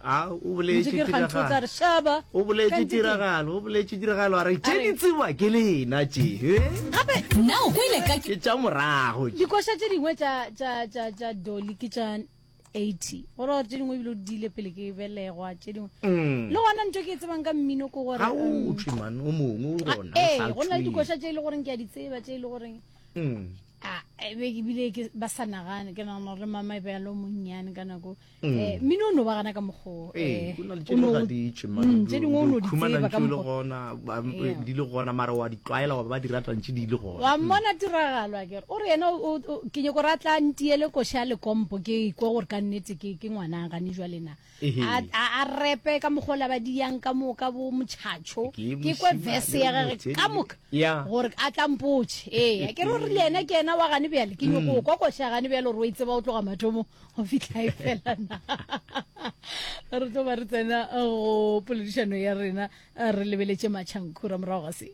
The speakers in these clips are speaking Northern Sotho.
A o boletše Ntše ke re kganthe o tla tiragalo. re šaba. O boletše Kganthe ke- tiragalo, o boletše tiragalo a re tše A di re- tseba ke lena tše. He? Gape Na o kwele ka Ke tša morago tše. dikoša tše dingwe tša tša tša tša Dolly ke tša 80. Go ra gore tše dingwe ebile o di ile pele ke belegwa tše dingwe. Le gona ntho ke e tsebang ka mmino ke gore Ga o um, tšwe man, o mongwe o a- gona. o ee, sa go na le tšweng. dikoša tše e le goreng ke a di tseba tše e le goreng Mm. a e be ebile ke ba sa nagane ke nagana gore mama e be a le o monnyane ka nako um mmino o no ba gana ka mokgoo Ee, eh, go na le tše o dingwe no- ga di tšwe, man. Mm, tše dingwe o no di Khumana tseba ka ntše o le mokgwa gona, ba- Yeah. di le gona mara wa di tlwaela wa ba ba di rata ntše di le gona. wa mmona tiragalo a kere o re yena o- o- ke nyako gore a tla ntiele koša ya lekompo ke ikwe gore ka nnete ke ke ngwana gane jwale na Ehe. a a- a repe ka mokgwa o la ba diyang ka moka bo motšhatšho Ke ke kwe mošemane verse ya o gage motelele. ka moka Ya. gore a tla mpotše ee ke re o rile yena ke yena wa gane bjale ke nyako go kwa koša ya gane bjale gore o e tseba o tloga mathomong go fihla e fela na re tlo ba re tsena go poledišano ya rena re lebeletše matšhankhura morago ga se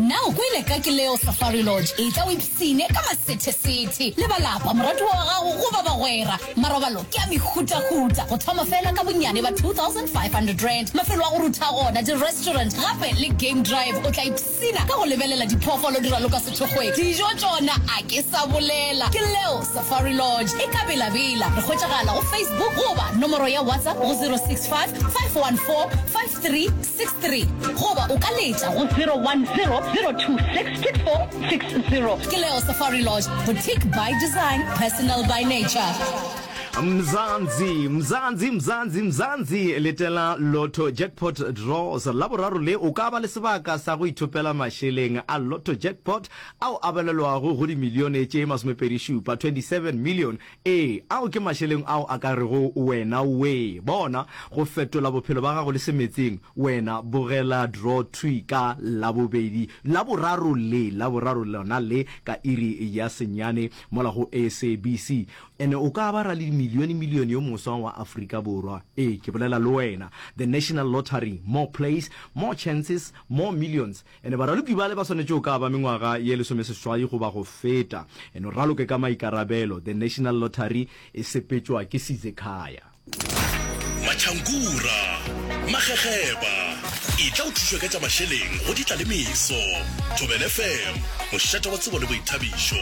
Na o kwele ka ke Leo Safari Lodge? Etla o ipsine ka masethesethe le ba lapa, moratiwa wa gago goba bagwera. Marobalo ke a mehutahuta, go thoma fela ka bonnyane ba R2500. Mafelo a go rutha gona, di-restaurant gape le game drive. O tla ipsina ka go lebelela diphoofolo di raloka sethokgweng. Dijo tšona a ke sa bolela. Ke Leo Safari Lodge e ka Bela-Bela. Re hwetšagala go Facebook goba nomoro ya WhatsApp go 065 514 5363 goba o ka letša go 010-026-6460. Ke Leo Safari Lodge, boutique by design, personal by nature. Mzansi, Mzansi, Mzansi, Mzansi, letela Lotto Jackpot Draws. Laboraro le o ka ba le sebaka sa go ithopela mašeleng a Lotto Jackpot ao a balelwago go dimilione tše masomepedi-šupa, 27 million, Ee, ao ke mašeleng ao a ka rego wena wee. Bona, go fetola bophelo ba gago le semetseng, wena bogela draw thwi ka Labobedi, Laboraro le, Laboraro lona le ka iri ya senyane mola go SABC. Ene o ka ba raledimilionemilione yo moswa wa Afrika Borwa. Ee, ke bolela le wena. The National Lottery, more plays, more chances, more millions. Ene baraloki bale ba swanetše go ka ba mengwaga ye lesomeseswai goba go feta. Eno raloke ka maikarabelo. The National Lottery e sepetšwa ke Sizekhaya. Matšhankura, Magegeba, etla o thušwe ka tša mašeleng go ditla le meso. Thobela FM, mošate wa tsebo le boithabišo.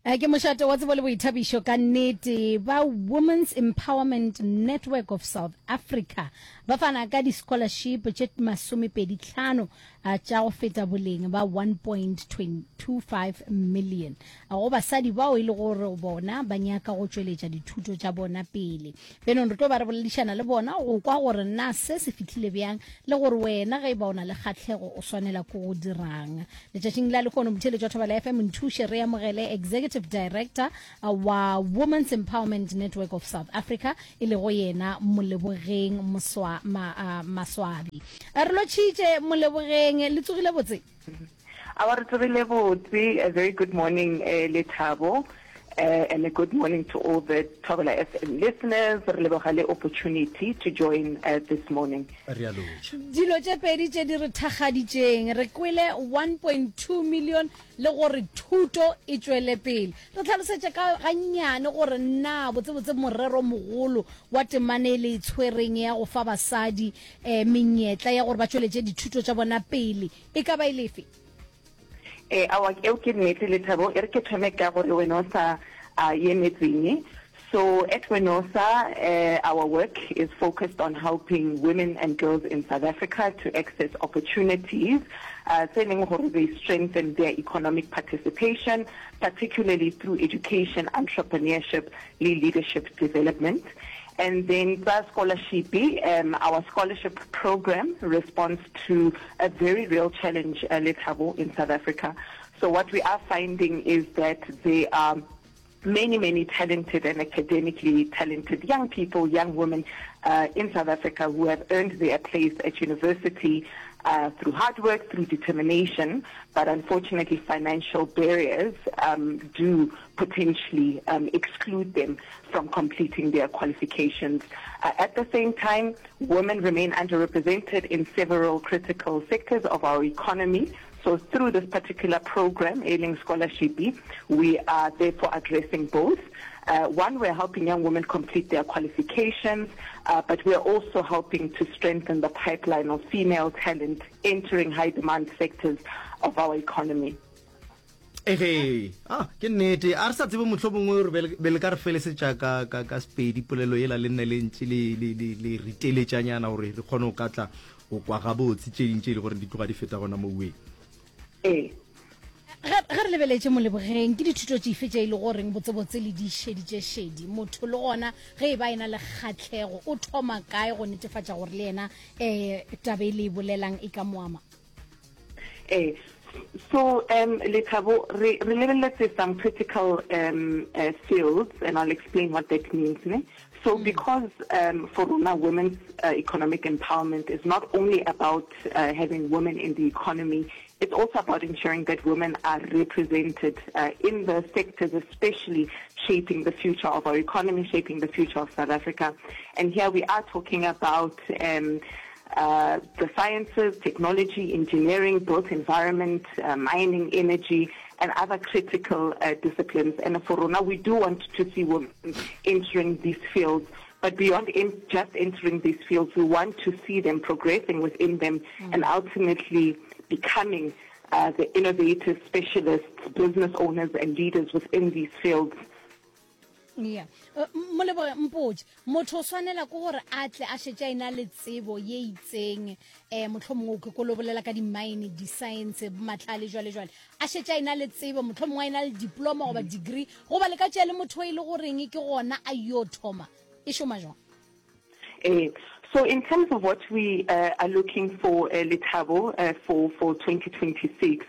Eh, ke mošate wa tsebo le boithabišo ka nnete ba Women's Empowerment Network of South Africa ba fana ka di-scholarship tše masomepedi-tlhano eh, tša go feta boleng ba 1.25 million eh, go basadi bao e le gore bona ba nyaka go tšweletša dithuto tša bona pele. Bjanong re tlo ba re boledišana le bona go kwa gore na se se fihlile bjang le gore wena ge e ba o na le kgahlego o swanela ke go dirang. Letšatšing la lehono motheeletši wa Thobela FM nthuše re amogele Executive Director wa Women's Empowerment Network of South Africa e lego yena Molebogeng Moswa, ma, uh, Maswabi. Re lotšhitše Molebogeng, le tsogile botse? Awa re tsogile botse. A very good morning eh, Lethabo eh, and a good morning to all the Thobela FM listeners. Re leboga le opportunity to join uh, this morning. Re a lotšha. Dilo tše pedi tše di re thakgaditšeng, re kwele 1.2 million le gore thuto e tšwele pele. Re hlalosetše ka gannyane gore na botsebotse morero mogolo wa temana e le e tshwereng ya go fa basadi eh, menyetla ya gore ba tšweletše dithuto tša bona pele E ka ba e le efe? Ee, aowa, eo ke nnete, Lethabo. E re ke thome ka gore Wenosa a ye metseng. So at Wenosa, uh, our work is focused on helping women and girls in South Africa to access opportunities uh, tse leng gore they strengthen their economic participation, particularly through education, entrepreneurship le leadership development. And then tsa scholarship, um, our scholarship program responds to a very real challenge, uh, Lethabo, in South Africa. So what we are finding is that there are many, many talented and academically talented young people, young women uh, in South Africa who have earned their place at university uh, through hard work, through determination, but unfortunately financial barriers um, do potentially um, exclude them from completing their qualifications. Uh, at the same time, women remain underrepresented in several critical sectors of our economy. So through this particular program, Ailing Scholarship, we are therefore addressing both. Uh, one, we're helping young women complete their qualifications, uh, but we're also helping to strengthen the pipeline of female talent entering high demand sectors of our economy. Ege, ah, ke nnete. A re sa tsebe mohlomongwe gore be le- be le ka re felesetša ka, ka, ka Sepedi polelo yela le nne le ntše le, le, le, le riteletšanyana gore re kgone go ka tla go kwa gabotse tše ding tše e le gore di tloga di feta gona moweng. Ee. Ge, ge re lebeletše Molebogeng, ke dithuto tšefe tše e le goreng botsebotse le di šeditše šedi? Motho le gona ge e ba e na le kgahlego, o thoma kae go netefatša gore le yena um taba e le e bolelang e ka mo ama? Ee. So, um, Lethabo, re, re lebeletse some critical um, uh, fields, and I'll explain what that means. Ne? So, mm. because um, for rona, women's uh, economic empowerment is not only about uh, having women in the economy, it's also about ensuring that women are represented uh, in the sectors, especially shaping the future of our economy, shaping the future of South Africa. And here we are talking about um, uh, the sciences, technology, engineering, built environment, uh, mining, energy, and other critical uh, disciplines. And for Rona, we do want to see women entering these fields. But beyond in just entering these fields, we want to see them progressing within them mm. and ultimately becoming uh, the innovators, specialists, business owners, and leaders within these fields. Yeah. Uh, Moleboge mpotše, motho o swanela ke gore a tle a šetše a ena le tsebo ye itseng, um mohlomongwe ke kolo bolela ka di-mine, di-science, mahlale jwale jwale, a šetše a ena le tsebo, mohlomongwe a ena le diploma goba degree, goba le ka tšea le motho e le goreng ke gona a yo thoma, e šoma jwang? Ee. So in terms of what we uh, are looking for, uh, Lethabo, uh, for, for 2026,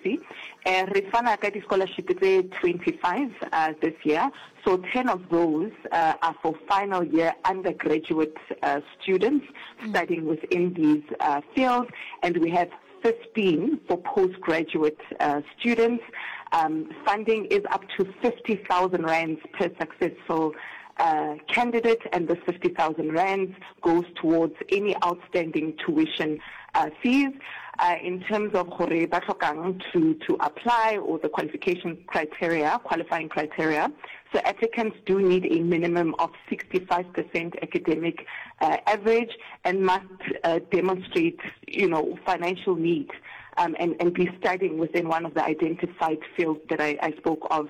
uh, re fana ka di-scholarship tse 25 uh, this year. So 10 of those uh, are for final year undergraduate uh, students mm. studying within these uh, fields, and we have 15 for postgraduate uh, students. Um, funding is up to 50,000 rands per successful uh, candidate, and this 50,000 rands goes towards any outstanding tuition uh, fees. Uh, in terms of gore ba tlhokang to, to apply or the qualification criteria, qualifying criteria, so applicants do need a minimum of 65% academic uh, average and must uh, demonstrate, you know, financial need um, and, and be studying within one of the identified fields that I, I spoke of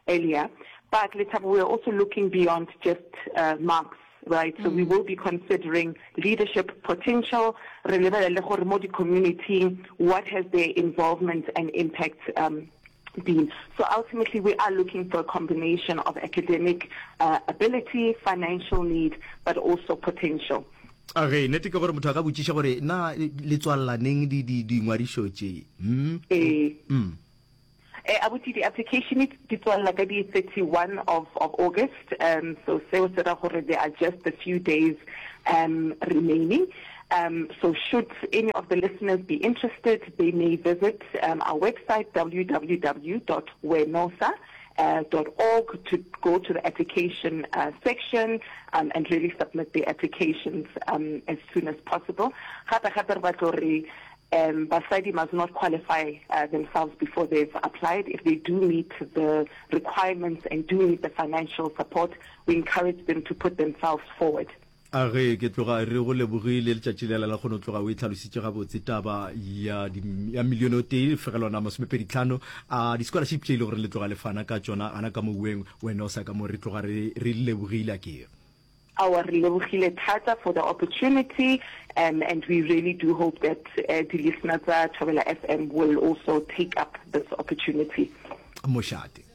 earlier. But Lethabo, we are also looking beyond just uh, marks right? So we mm. will be considering leadership potential, re lebelele gore mo di-community, what has their involvement and impact um, been. So ultimately we are looking for a combination of academic uh, ability, financial need, but also potential. A ge nnete ke gore motho a ka botšiša gore na le tswalela neng di di dingwadišo tše? Hmm? Ee. Mm. Eh, abuti di-application di tswalela ka di 31 of, of August, um, so seo se ra gore there are just a few days um, remaining. Um, so should any of the listeners be interested, they may visit um, our website www.wenosa uh, .org to go to the application uh, section um, and really submit their applications um, as soon as possible. Gape gape re batla gore um, basadi must not qualify uh, themselves before they've applied. If they do meet the requirements and do need the financial support, we encourage them to put themselves forward. A ge ke tloga re go lebogile letšatši lela la kgono tloga o e tlhalositše gabotse taba ya di, ya milione o tee fegelwana masomepeditlhano a di-scholarship tše e le gore le tloga le fana ka tšona gana ka moweng wena o sa ka mo re tloga re re lebogile a ke Aowa re lebogile thata for the opportunity um, and we really do hope that uh, di-listener tsa Thobela FM will also take up this opportunity. Mošate.